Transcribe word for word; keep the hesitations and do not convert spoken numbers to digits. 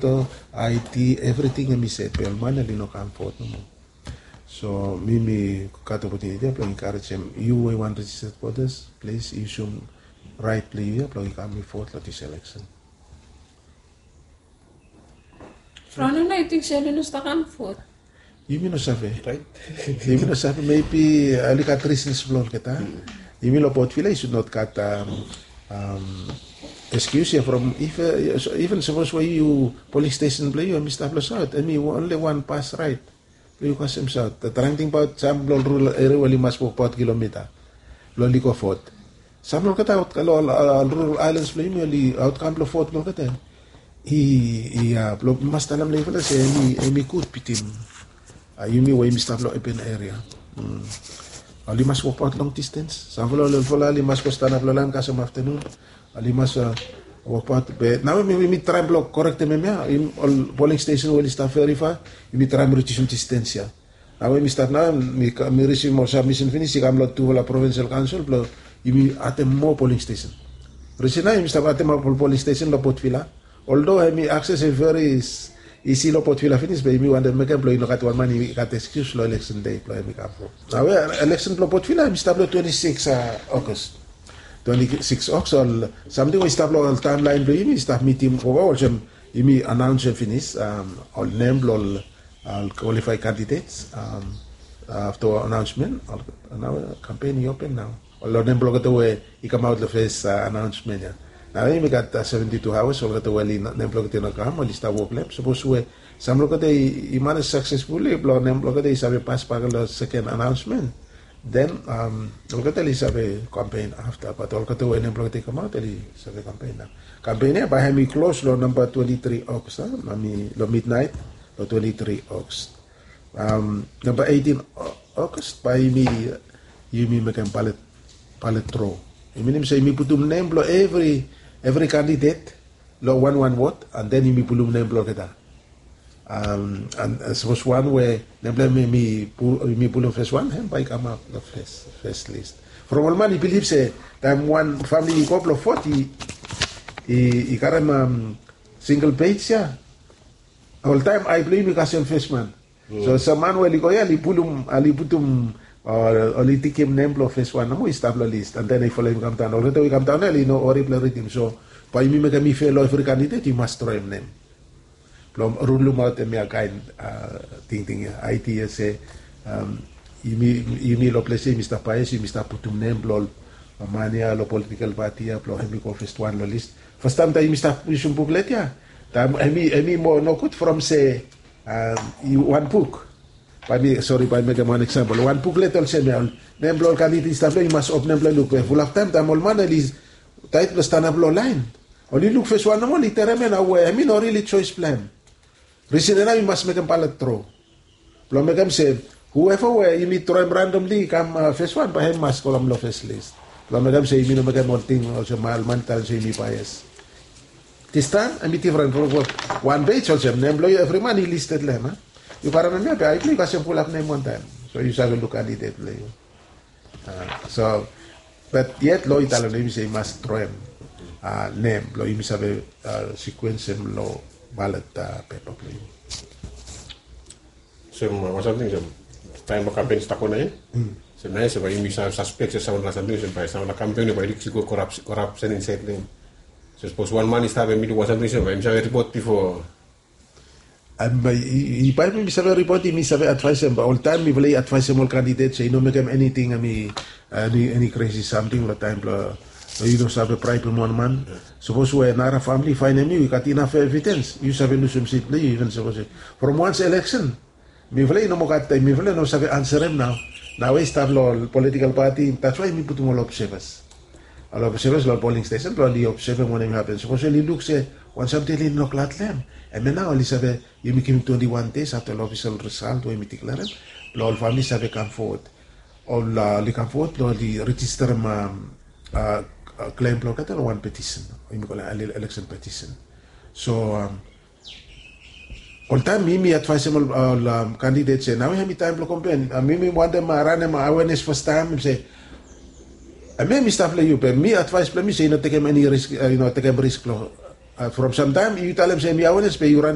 Id, evriting em i set be ol man oli no kam vot nomo. So mi mi gat opotuniti ya blong enkarejem yu we wan registered voters, plis yusum rait blong yu ya blong yu kam i vot long dis eleksen. From now na yu ting se oli no stap kam vot? Yumi no save. Yumi no save, mebi oli gat risens blong olgeta. Yumi long Port Vila yu sud not gat eskius ya from even sapos we yu poling stesen blong yu em i stap long saut em i onli wan pas rait blong yu kasem saut. Traem tingbaot sam blong rural eria we oli mas wokbaot kilomita blong oli go vot. Sam long olgeta aot long rural aelans blong yumi oli aotkam blong vot blong olgeta i i a blong mas talem long yufala se em i gud bitim yumi we yumi stap long open eria. Oli mas wokbaot long distens. Samfala ol olfala oli mas go stanap long laen kasem aftanun. Oli mas wokbaot be nao mi traem blong korektem em ya. Ol poling stesen we oli stap verifa yumi traem ridiusim distens ya. Nao we mi stap nao mi risivim ol sabmisen finis i kam long tufala provinsel kaonsel blong yumi adem moa poling stesen. Risen nao yumi stap adem ap ol poling stesen long Port Vila. Oldo em i akses em i veri isi long Port Vila finis be yumi wantem mekem blong i no gat wan man i gat eskius long eleksen dei blong em i kam. Nao we eleksen blong Port Vila em i stap long twenti sikis Ogos. Twenti sikis Ogos ol samting we i stap long ol taemlaen blong yumi i stap mitim gogo olsem yumi anaonsem finis ol nem blong ol kwalifaed kandidets. Afta anaonsmen nao kampen i open nao. Ol nem blong olgeta we i kamaot long fes anaonsmen ya. Nao yumi gat seventi tu aoas olgeta we nem blong olgeta i no kam oli stap wok long em sapos we sam blong olgeta i manes saksesfuli blong nem blong olgeta i save pasbak long seken anaonsmen. Den olgeta oli save kampen afta bat olgeta we nem blong olgeta i kamaot oli save kampen nao. Kampen ya bae hem i klos long namba twenti tri Ogos a long midnaet long twenti tri Ogos. Namba eitin Ogos bae yumi mekem balet dro. I minim se yumi putum nem blong evri kandidet long wanwan wod an den yumi pulum nem blong olgeta. Sapos wan we nem blong hem yumi pulum fes wan hem bae i kamap long fes lis. From ol man i bilif se taem wan famili i go blong vot i karem singel pej ya. Oltaem ae blong yumi kasem fes man. So sam man we oli go ya oli pulum oli putum oli tikim nem blong fes wan nomo i stap long lis an den i folem i kamdaon olgeta we i kamdaon ya oli no wari blong ridim so bae yumi mekem i fel long evri kandidet i mas troem nem blong rulumaot em ya kaen tingting ya aedia se yumi long ples ya yumi stap baes yumi stap putum nem blong ol man ya long politikel pati ya blong hem i go fes wan long lis. Fastaem taem yumi stap yusum buklet ya taem hem i moa nogud from se wan buk. Bae mi sori bae mekem wan eksampol wan buklet olsem ya ol nem blong ol kandidet i stap long ya i mas op nem blong luk be fulap taem taem ol man oli taet blong stanap long laen oli luk fes wan nomo oli terem ya nao we hem i no rili joes blong hem. Risen ya nao i mas mekem balet dro blong mekem se hueva we yumi droem randomli i kam fes wan bae hem i mas go long fes lis blong mekem se yumi no mekem ol ting olsem ol man i talem se yumi baes. Distaem hem i difren from wan pej olsem nem blong yu evri man i listed long hem a yu karem hem ya be ae blong yu kasem fulap nem wantaem so yu save luk kandidet blong yu. So bat yet lo i talem long yumi se i mas droem nem blong yumi save sikuensem long balet pepa blong yumi. Olsem wan samting olsem taem long kampen i stap go naen olsem naen olsem bae yumi save saspek se samfala samting olsem bae samfala kampen bae i go korapsen insaed long hem. So sapos wan man i stap hem i luk wan samting olsem bae yumi save ripot bifo. Bae mi save ripot i mi save advaesem bae oltaem mifala i advaesem ol kandidet se i no mekem eniting em i eni kresi samting long taem blong yu no save braebem wan man. Sapos we nara famili i faenem yu i gat inaf evidens yu save lusim sit blong yu iven sapos from wans eleksen mifala i no moa gat taem mifala i no save anserem nao. Nao we i stap long ol politikel pati datswae yumi putum ol obsevas ol obsevas long ol poling stesen blong oli obsevem wanem i hapen sapos oli luk se wan samting oli no glad long hem em ya nao oli save yumi givim twenti wan des afta long ofisel risalt we yumi diklerem blong ol famili save kam fowod. Oli kam fowod blong oli rejisterem klem blong olgeta long wan petisen we yumi kolem eleksen petisen. So oltaem mi mi advaesem ol kandidet se nao hem i taem blong kompen mi mi wantem ranem awenes fastaem se em ya mi stap long yu be mi advaes blong mi se i no tekem eni risk i no tekem risk blong from samtaem yu talem se mi awenes be yu ran